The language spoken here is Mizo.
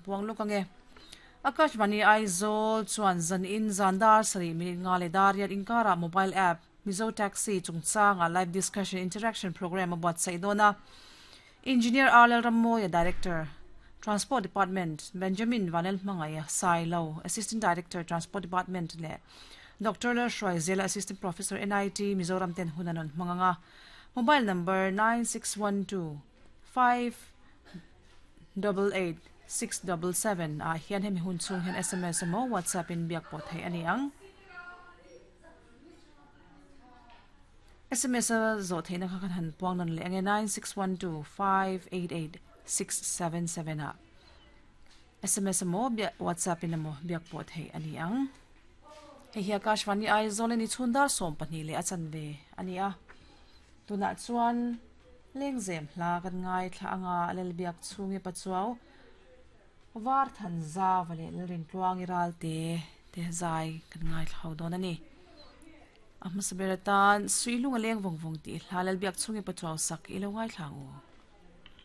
puang lawk ange. Akashvani Aizawl chuan zanin zan dar sarih minute nga leh dar riat inkarah mobile app Mizo Taxi chungchanga live discussion interaction programme a buatsaih dawn a. Engineer R Lalrammawia, Director, Transport Department, Benjamin Vanelhmangaia, Sailo, Assistant Director, Transport Department leh Doctor Lalhruaizela, Assistant Professor, NIT, Mizoram ten hun an rawn hmang ang a. Mobile number 9612 588 677 ah hian hemi hun chhung hian sms emaw WhatsApp in biak pawh theih a ni ang. Sms a zawh theihna kha kan han puang nawn leh ang e, 9612588677 ah sms emaw WhatsApp in emaw biak pawh theih a ni ang. Hei hi Akashvani Aizawl a ni chhun dar 12 leh a chanve a ni a. Tunah chuan lengzem hla kan ngaithla anga Lalbiak chhungi Pachuau Var than zau leh Lalrintluangi ralte te zai kan ngaithla ho dawn a ni. A hmasa ber atan Suihlung a leng vawng vawng tih hla Lalbiak chhungi Pachuau sak i lo ngaithla ang u.